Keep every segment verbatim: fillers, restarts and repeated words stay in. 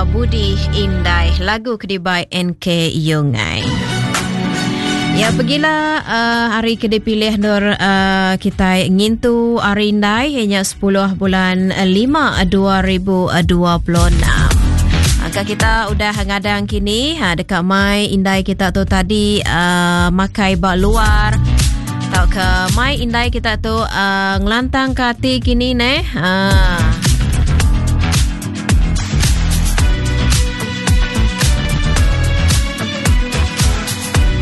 Budi Indai, lagu ke dibai N K Yongai. Ya, pergilah uh, hari ke dipilih nur uh, kita ngintu hari Indai hanya sepuluh bulan lima dua ribu dua puluh enam. Angka kita udah ngadang kini, ha, dekat mai Indai kita tu tadi uh, makai bak luar. Tau ke mai Indai kita tu uh, ngelantang ke hati kini neh. Ha.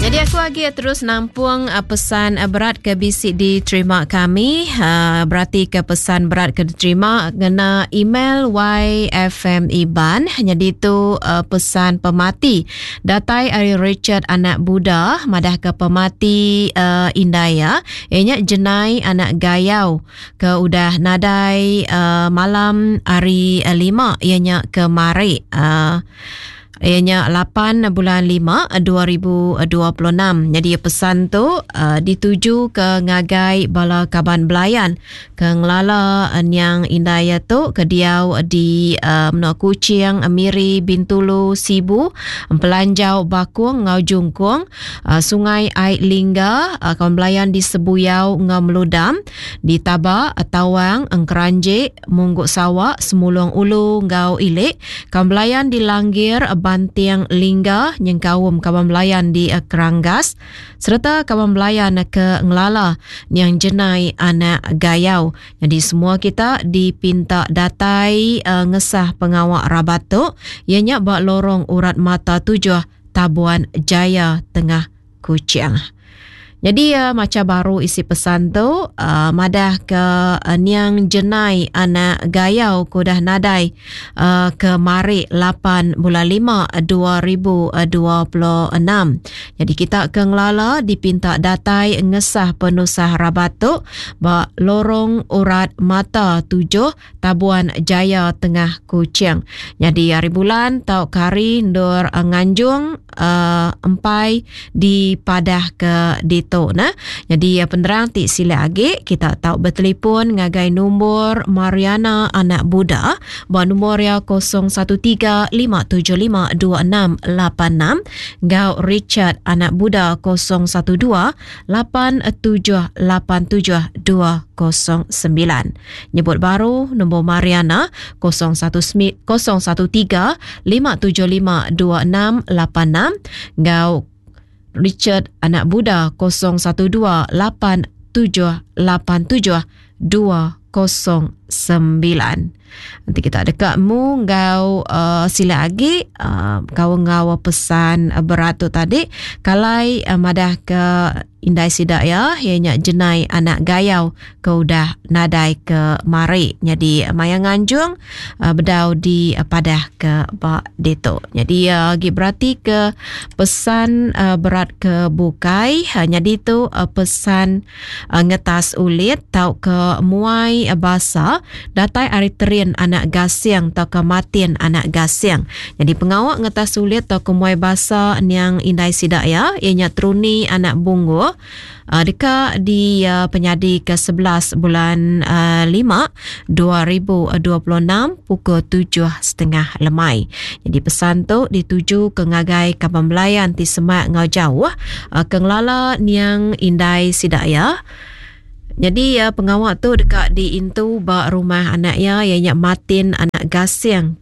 Jadi aku lagi terus nampung uh, pesan uh, berat ke bisik diterima kami. Uh, berarti ke pesan berat ke diterima kena email Y F M Iban. Jadi tu uh, pesan pemati datai ari Richard anak Buddha madah ke pemati uh, Indaya ianya Jenai anak Gayau ke udah nadai uh, malam hari uh, lima ianya kemari. Uh, Ianya lapan bulan lima dua ribu dua puluh enam. Jadi pesan tu uh, dituju ke ngagai bala kaban belayan ke ngelala niang Indaya tu ke diau di uh, Menua Kuching, Miri, Bintulu, Sibu, Pelanjau, Bakung, Ngau Jungkung, uh, Sungai Ai Lingga, uh, kaban belayan di Sebuyau, Ngau Meludam, di Taba, Tawang, Engkeranjik, Mungguk Sawak, Semulung Ulu, Ngau Ilik, kaban belayan di Langgir, Bantiang Lingga, nyengkaum kaban belayan di Keranggas serta kaban belayan ke Ngelala yang Jenai anak Gayau. Jadi semua kita dipinta datai uh, ngesah pengawak rabat tu ianya bak lorong urat mata tujuh Tabuan Jaya Tengah Kuching. Jadi uh, macam baru isi pesan tu uh, madah ke uh, niang Jenai anak Gayau kudah nadai uh, ke mari lapan bulan lima dua ribu dua puluh enam. Jadi kita ke ngelala dipinta datai ngesah penusah rabat tu ba lorong urat mata tujuh Tabuan Jaya Tengah Kuching. Jadi hari bulan tau kari ndur uh, nganjung uh, empai di padah ke di tu nah. Jadi penerang ti sila agi kita tahu bertelefon ngagai nombor Mariana anak Buddha ba nombor ya kosong satu tiga lima tujuh lima dua enam lapan enam gau Richard anak Buddha kosong satu dua lapan tujuh lapan tujuh dua kosong sembilan. Nyebut baru nombor Mariana kosong satu kosong satu tiga lima tujuh lima dua enam lapan enam gau Richard anak Buddha kosong satu dua lapan tujuh lapan tujuh dua kosong sembilan. Nanti kita dekat mu ngau uh, sila lagi uh, kau ngau pesan uh, berat tu tadi kalai uh, madah ke Indai sidak ya ianya Jenai anak Gayau ke udah nadai ke mari. Jadi maya nganjung uh, bedau di uh, padah ke bak deto. Jadi uh, gi berarti ke pesan uh, berat ke bukai. Uh, jadi tu uh, pesan uh, ngetas ulit tau ke muai uh, basa datai ari terin anak Gasing tau ke matin anak Gasing. Jadi pengawak ngetas ulit tau ke muai basa niang Indai sidak ya ianya Truni anak Bungo. Uh, dekat di uh, penyadi ke sebelas bulan uh, lima dua ribu dua puluh enam pukul tujuh setengah lemai. Jadi pesan tu dituju ke ngagai kaban belayan ti semak ngau jauh uh, ke ngelala niang Indai sidak ya. Jadi uh, pengawak tu dekat di intu ba rumah anak ya ianya Martin anak Gasing.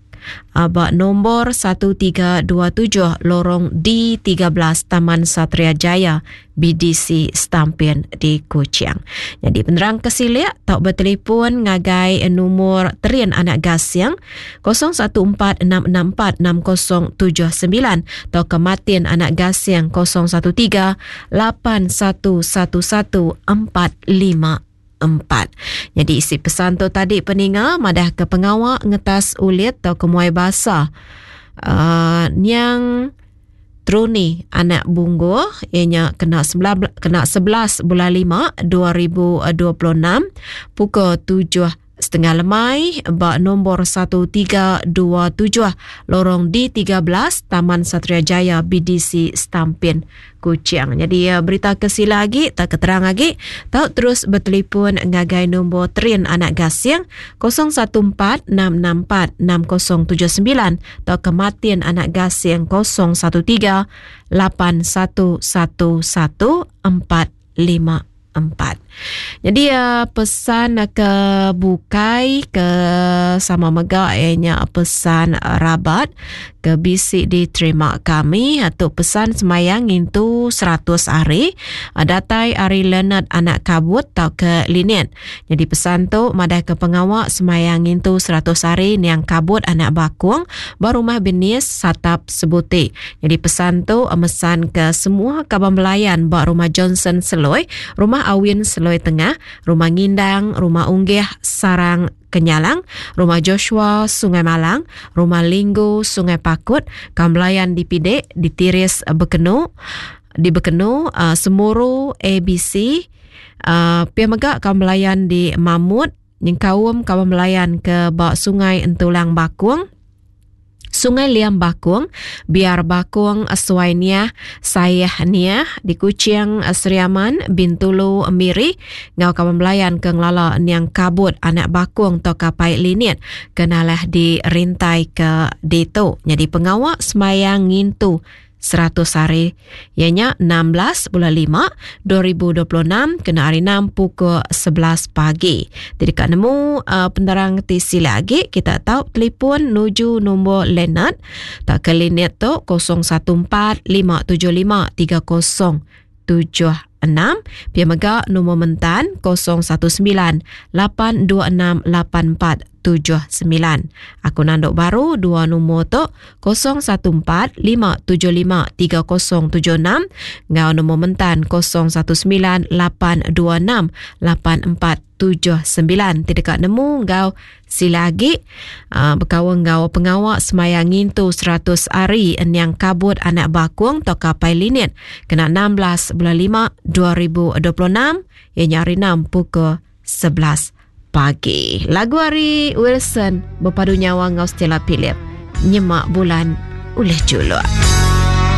Ba nombor satu tiga dua tujuh lorong D tiga belas Taman Satria Jaya B D C Stampin di Kuching. Jadi penerang kesilik tak bertelefon ngagai nombor Terin anak Gasing kosong satu empat enam enam empat enam kosong tujuh sembilan atau ke Martin anak Gasing kosong satu tiga lapan satu satu satu empat lima empat. Jadi isi pesan tu tadi peninga madah ke pengawak ngetas ulit atau ke muai basah. Uh, niang Truni anak Bunggu ianya kena sebelah, kena sebelas bulan lima dua ribu dua puluh enam pukul tujuh setengah lemai ba nombor satu tiga dua tujuh Lorong D tiga belas Taman Satria Jaya B D C Stampin Kuching. Jadi berita ke sila lagi tak keterang lagi tau terus bertelefon ngagai nombor Trin Anak Gasing kosong satu empat enam enam empat enam kosong tujuh sembilan atau ke Martin Anak Gasing kosong satu tiga lapan satu satu satu empat lima empat. Jadi uh, pesan ke bukai ke sama mega ianya pesan rabat ke bisi diterima kami atau pesan semayang ngintu seratus hari datai ari Leonard Anak Kabut atau ke Linet. Jadi pesan tu madah ke pengawak semayang ngintu seratus hari niang Kabut Anak Bakung ba rumah Benis Satap Sebuti. Jadi pesan tu mesan ke semua kaban belayan ba rumah Johnson Seloi, rumah Awin Seloi Tengah, rumah Ngindang, rumah Unggih Sarang Kenyalang, rumah Joshua Sungai Malang, rumah Linggu Sungai Pakut, Kambelayan di Pidek, di Tiris Bekenu, di Bekenu, uh, Semuru A B C, uh, pia mega Kambelayan di Mamut, nyengkaum Kambelayan ke bak Sungai Entulang Bakung, Sungai Liam Bakung, Biar Bakung, Suai Niah, Sayah Niah, di Kuching, Seriaman, Bintulu, Miri, ngau kawan belayan ke ngelala niang Kabut, Anak Bakung, atau Kapai Linit, kenalah di rintai ke Dito. Jadi pengawak semayang ngintu seratus hari, ianya enam belas bulan lima dua ribu dua puluh enam kena hari enam pukul sebelas pagi. Jadi kat nemu uh, penerang T C lagi kita tahu telefon nuju nombor Leonard tak ke Linet tu kosong satu empat lima tujuh lima tiga kosong tujuh enam, pia mega nombor mentan kosong satu sembilan lapan dua enam lapan empat tujuh sembilan. Aku nanduk baru dua nombor tu kosong satu empat lima tujuh lima tiga kosong tujuh enam ngau nombor mentan kosong satu sembilan lapan dua enam lapan empat tujuh sembilan. Tidak kat nemu ngau silagi uh, berkawan ngau pengawak semayang ngintu seratus hari niang Kabut Anak Bakung atau Kapai Linit kena enam belas bulan lima dua ribu dua puluh enam ianya hari enam pukul sebelas pagi. Lagu hari Wilson berpadu nyawa ngau Stella Philip nyemak bulan ulih juluk.